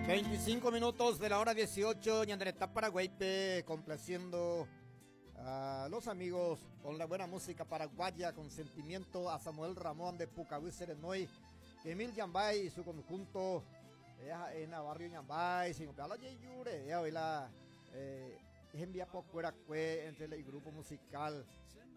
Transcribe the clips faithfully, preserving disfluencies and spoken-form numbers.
Veinticinco minutos de la hora dieciocho, ñane retã Paraguáipe, complaciendo a los amigos con la buena música paraguaya, con sentimiento, a Samuel Ramón de Pucaví Serenoy, Emil Yambay y su conjunto, en barrio Yambay, sin la eh, envía entre el grupo musical.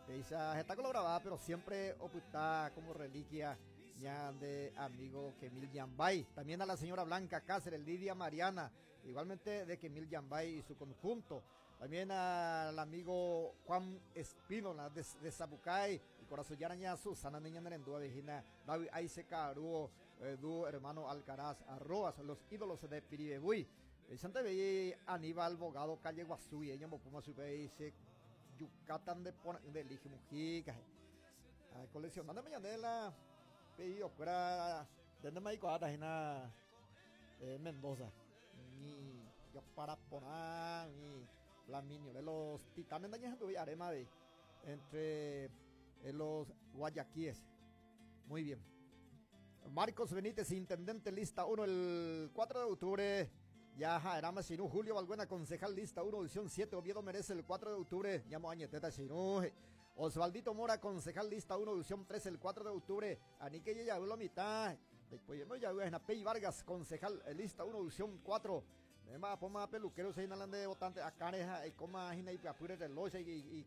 Está grabada, pero siempre ocultada como reliquia ya de amigo Kemil Yambay. También a la señora Blanca Cáceres, Lidia Mariana, igualmente de Kemil Yambay y su conjunto. También al amigo Juan Espínola de, de Zapucay, el corazón Yaraña, Susana Niña Nerendúa, Virginia, David Aize Caruo, eh, hermano Alcaraz, arroas, los ídolos de Piribebuy. El Santa Bella Aníbal Bogado, calle Guazú, y ella Mopuma dice Yucatán de de Lige Mujica. Coleccionando mañana pedido fuera de no me eh, Mendoza. Ni yo para poner ni Flaminio de los Titanes de Arema de entre eh, los guayaquíes. Muy bien. Marcos Benítez, intendente lista uno el cuatro de octubre. Ya era Sinú. Julio Balbuena, concejal lista uno, edición siete. Oviedo merece el cuatro de octubre. Llamo Añeteta Sinú. Osvaldito Mora, concejal lista uno, edición tres, el cuatro de octubre. Anique ya la mitad. Después ya Pey Vargas, concejal lista uno, edición cuatro. Además, poma peluquero se de votante acá y coma y apure reloj y y